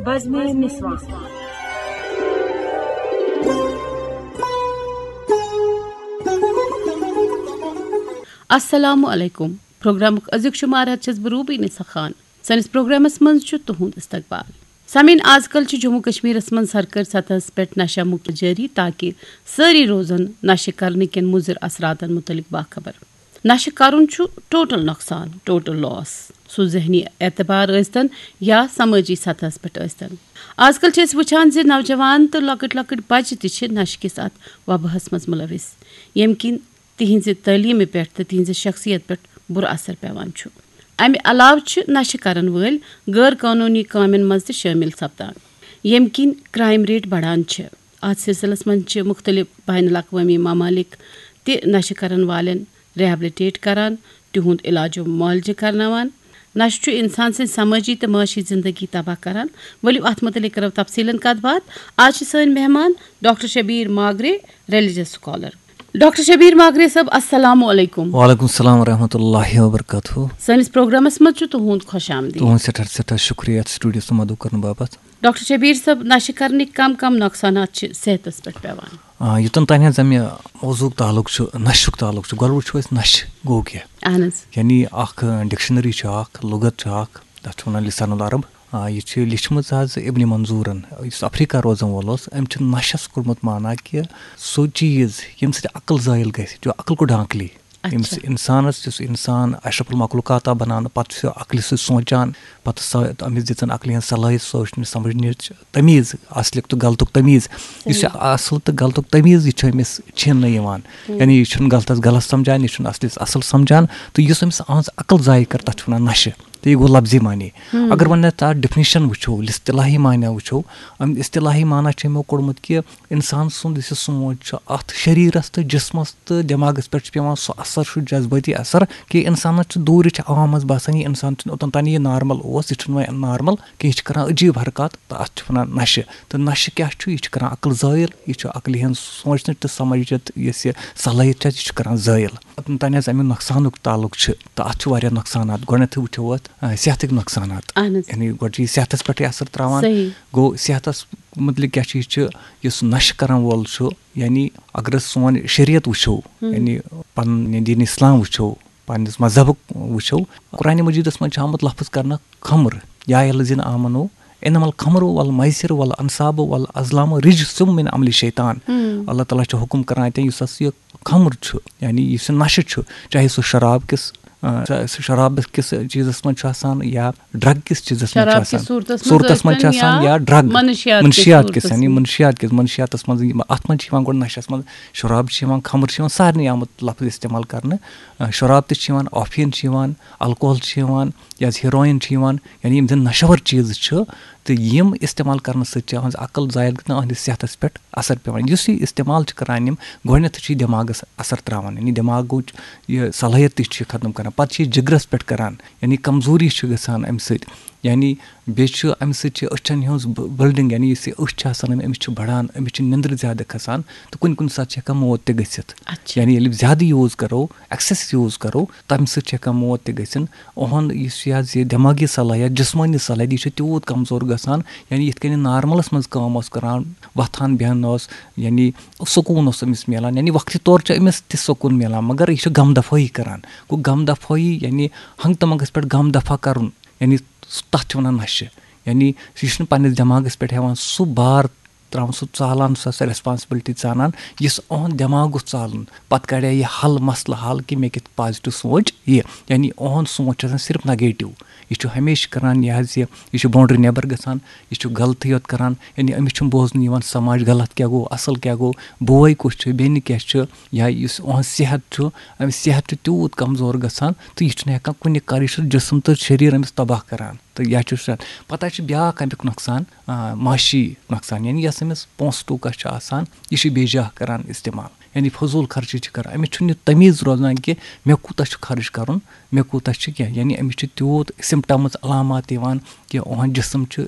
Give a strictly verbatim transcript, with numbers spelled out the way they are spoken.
بزمِ نسواں۔ السلام علیکم۔ پروگرامُک أزیُک شمارٕ ہٮ۪تھ چھَس بہٕ روبی نسا خان۔ سٲنِس پروگرامَس منٛز چھُ تُہُنٛد استقبال۔ سامعین، آز کل چھِ جموں کشمیرس منٛز سرکٲرۍ سطحس پٮ۪ٹھ نشہ مکت جٲری، تاکہ سٲری روزن نشہ کرنہٕ کٮ۪ن مُضر اثراتن متعلق باخبر۔ نشہ کرُن چھُ ٹوٹل نۄقصان، ٹوٹل لاس، سُہ ذہنی اعتبار ٲسۍتن یا سمٲجی سطحس پٮ۪ٹھ ٲسۍتن۔ آز کل چھِ أسۍ وٕچھان زِ نوجوان تہٕ لۄکٕٹۍ لۄکٕٹۍ بچہِ تہِ چھِ نشہٕ کِس اتھ وباہس منٛز ملوث، ییٚمہِ کِنۍ تِہنٛزِ تعلیمہِ پٮ۪ٹھ تہٕ تِہنٛزِ شخصیت پٮ۪ٹھ بُرٕ اثر پٮ۪وان چھُ۔ امہِ علاوٕ چھِ نشہٕ کرن وٲلۍ غٲر قونوٗنی کامٮ۪ن منٛز تہِ شٲمِل سپدان، ییٚمہِ کِنۍ کرائم ریٹ بڑان چھِ۔ اتھ سلسلس منٛز چھِ مُختٔلِف بین الاقوٲمی ممالک تہِ نشہٕ کرن والٮ۪ن ریہبلٹیٹ کران، تِہُنٛد علاج و معالجہٕ کرناوان۔ نشہٕ چھُ انسان سٕنٛز سمٲجی تہٕ معاشی زندگی تباہ کران۔ ؤلِو، اتھ متعلق کرو تفصیلن کتھ باتھ۔ آز چھِ سٲنۍ مہمان doctor Shabbir Magray, religious scholar. Doctor Shabbir Magray صٲب، السلام علیکم۔ وعلیکم السلام ورحمۃ اللہ وبرکاتہ۔ سٲنِس پروگرامس منٛز چھُ تُہُنٛد خۄش آمدید۔ تُہُنٛد سٮ۪ٹھاہ سٮ۪ٹھاہ شُکریہ اَتھ سٹوڈیوَس منٛز مدعو کرنہٕ باپتھ۔ ڈاکٹر شبیر صٲب، نشہٕ کرنٕکۍ کم کم نۄقصانات چھِ صحتس پٮ۪ٹھ پٮ۪وان؟ آ، یوٚتَن تانۍ حظ مےٚ موضوعُک تعلق چھُ، نشُک تعلق چھُ، گۄڈٕ وٕچھو أسۍ نشہٕ گوٚو کیٛاہ۔ اہن حظ۔ یعنی اکھ، آ، ڈکشنری چھِ اکھ، لغت چھِ اکھ، تَتھ چھِ وَنان لسان العرب۔ آ، یہِ چھِ لیٚچھمٕژ حظ ابن منظورن، یُس افریقہ روزن وول اوس۔ أمۍ چھُ نشس کوٚرمُت معنہ کہِ سُہ چیٖز ییٚمہِ سۭتۍ عقل زٲیِل گژھِ، جو عقل کو ڈھانک لے۔ اچھا۔ ییٚمِس انسانس، یُس انسان اشرف المخلوقات آو بناونہٕ، پتہٕ چھُ عقلہِ سۭتۍ سونٛچان، پتہٕ سۄ أمِس دِژن عقلہِ ہٕنٛز صلٲحیت سونٛچنٕچ سمجھنٕچ تمیٖز، اصلُک تہٕ غلطُک تمیٖز۔ یُس یہِ صحیح۔ اصل تہٕ غلطُک تمیٖز یہِ چھُ أمِس چھینہٕ یِوان۔ ہم۔ یعنی یہِ چھُنہٕ غلطس غلط سمجھان، یہِ چھُنہٕ اصلِس اصل سمجھان، تہٕ یُس أمِس أہنٛز عقل ضایع کٔر، تتھ چھِ ونان نشہٕ۔ تہٕ یہِ گوٚو لفظی معنی۔ ہم۔ اگر وۄنۍ اتھ ڈیفینیشن وٕچھو، اصطلاحی معنی وٕچھو، أمۍ اصطلاحی معنی چھُ یِمو کوٚڑمُت کہِ انسان سُنٛد یُس یہِ سونٛچ چھُ، اتھ شریرس تہٕ جسمس تہٕ دٮ۪ماغس پٮ۪ٹھ چھُ پٮ۪وان سُہ اثر، سُہ جذبٲتی اثر، کہِ انسانس چھُ دوٗرِچ عوام منٛز باسان، یہِ انسان چھُنہٕ اوٚتن تانی یہِ نارمل اوس، یہِ چھُنہٕ وۄنۍ نارمل کینٛہہ، یہِ چھُ کران عجیٖب حرکات، تہٕ اتھ چھِ ونان نشہٕ۔ تہٕ نشہٕ کیٛاہ چھُ؟ یہِ چھُ کران عقل زٲیِل، یہِ چھُ عقلہِ ہٕنٛز سونٛچنٕچ تہٕ سمجھنٕچ یۄس یہِ صلٲحیت چھِ، یہِ چھُ کران زٲیِل۔ اوٚتن تانۍ حظ امیُک نۄقصانُک تعلق چھُ، تہٕ اتھ چھُ واریاہ نۄقصانات۔ گۄڈٕنیتھٕے وٕچھو اتھ، آ، صحتٕکۍ نۄقصانات۔ اہن حظ۔ یعنی گۄڈٕ چھُ یہِ صحتس پٮ۪ٹھٕے اثر تراوان۔ صحیح۔ گوٚو صحتس متعلق کیٛاہ چھُ؟ یہِ چھُ، یُس نشہٕ کرن وول چھُ، یعنی اگر أسۍ سون شریعت وٕچھو، ہم۔ یعنی پنُن دین اسلام وٕچھو، پننِس مذہبُک وٕچھو، قرآن مجیدس منٛز چھُ آمُت لفظ کرنہٕ خمر، یا الذین آمنو انما الخمر والمیسر والانصاب والازلام رجس من عمل شیطان۔ ہم۔ اللہ تعالیٰ چھُ حکم کران اتٮ۪ن، یُس ہسا یہِ خمر چھُ، یعنی یُس یہِ نشہٕ چھُ، چاہے سُہ شراب کِس، آ، سُہ، سُہ شراب کِس چیٖزس منٛز چھُ آسان یا ڈرگ کِس چیٖزس منٛز چھُ شراب کِس آسان، صوٗرتس منٛز صوٗرتس منٛز چھُ ٲسۍتن آسان یا یا ڈرگ، منشیات کِس منشیات کِس، صوٗرتس یعنی منٛز۔ منشیات کِس، منشیاتس منٛز یِم، اتھ منٛز چھِ یِوان گۄڈٕ نشس منٛز، شراب چھِ یِوان، خمر چھِ یِوان، سارنٕے آمُت لفظ استعمال کرنہٕ۔ آ، شراب تہِ چھِ یِوان، افیٖن چھِ یِوان، الکوہل چھِ یِوان، یا ہیروئن چھِ یِوان، یعنی یِم زن نشہٕ ور چیٖز چھِ، تہٕ یِم استعمال کرنہٕ سۭتۍ چھِ أہنٛز عقل زٲیِل گژھان، أہنٛدِ صحتس پٮ۪ٹھ اثر پٮ۪وان۔ یُس یہِ استعمال چھِ کران یِم، گۄڈٕنیتھٕے چھُ یہِ دٮ۪ماغس اثر تراوان، یعنی دٮ۪ماغٕچ یہِ صلٲحیت تہِ چھُ یہِ ختم کران، پتہٕ چھُ یہِ جگرس پٮ۪ٹھ کران، یعنی کمزوری چھِ گژھان امہِ سۭتۍ، یعنی بیٚیہِ چھُ امہِ سۭتۍ چھِ أچھن ہٕنٛز ب-، بلڈنگ، یعنی یُس یہِ أچھ چھِ آسان، أمِس چھِ بڑان، أمِس چھِ نندرِ زیادٕ کھسان، تہٕ کُنہِ کُنہِ ساتہٕ چھِ ہٮ۪کان موت تہِ گٔژھِتھ۔ اچھا۔ یعنی ییٚلہِ زیادٕ یوٗز کرو، ایکسیس یوٗز کرو، تمہِ سۭتۍ چھِ ہٮ۪کان موت تہِ گٔژھِتھ۔ اُہُنٛد یُس یہِ حظ یہِ دٮ۪مٲغی صلٲحیت، جسمٲنی صلٲحیت، یہِ چھِ تیوٗت کمزور گژھان، یعنی یِتھ کٔنۍ نارملس منٛز کٲم اوس کران، وۄتھان بیٚہان اوس، یعنی سکوٗن اوس أمِس میلان، یعنی وقتہِ طور چھُ أمِس تہِ سکوٗن میلان، مگر یہِ چھُ غم دفٲیی کران۔ گوٚو غم دفٲیی، یعنی ہنٛگہٕ تہٕ منٛگس پٮ۪ٹھ غم دفع کرُن، یعنی سُہ، تتھ چھِ ونان نشہٕ۔ یعنی یہِ چھُنہٕ پننِس دٮ۪ماغس پٮ۪ٹھ ہٮ۪وان سُہ بار تراوان، سُہ ژالان، سۄ، سۄ ریسپانسبلٹی ژانان، یُس اُہُنٛد دٮ۪ماغ گوٚژھ ژالُن۔ پتہٕ کڑے یہِ حل، مسلہٕ حل، کہِ مےٚ کِتھ پازیٹو سونٛچ یہِ۔ یعنی اُہُنٛد سونٛچ چھُ آسان صرف نیگیٹو۔ یہِ چھُ ہمیشہِ کران یہِ حظ یہِ، یہِ چھُ باؤنڈری نیبر گژھان، یہِ چھُ غلطٕے یوت کران۔ یعنی أمِس چھُنہٕ بوزنہٕ یِوان سماج غلط کیٛاہ گوٚو، اصل کیٛاہ گوٚو، بوے کُس چھُ، بیٚنہِ کیٛاہ چھُ، یا یُس اُہُنٛد صحت چھُ، أمِس صحت چھُ تیوٗت کمزور گژھان تہٕ یہِ چھُنہٕ ہٮ۪کان کُنہِ کر، یہِ چھُ جسم تہٕ شریر أمِس تباہ کران۔ تہٕ یا چھُ سُہ، پتہٕ حظ چھُ بیٛاکھ اَمیُک نۄقصان، آ، معاشی نۄقصان، یعنی یۄس أمِس پونٛسہٕ ٹوٗکا چھِ آسان، یہِ چھُ بے جا کران استعمال، یعنی فضوٗل خرچی چھِ کران۔ أمِس چھُنہٕ یہِ تمیٖز روزان کہِ مےٚ کوٗتاہ چھُ خرٕچ کرُن، مےٚ کوٗتاہ چھُ کینٛہہ، یعنی أمِس چھِ تیوٗت سمپٹمز، علامات یِوان کہِ اُہُنٛد جسم چھُ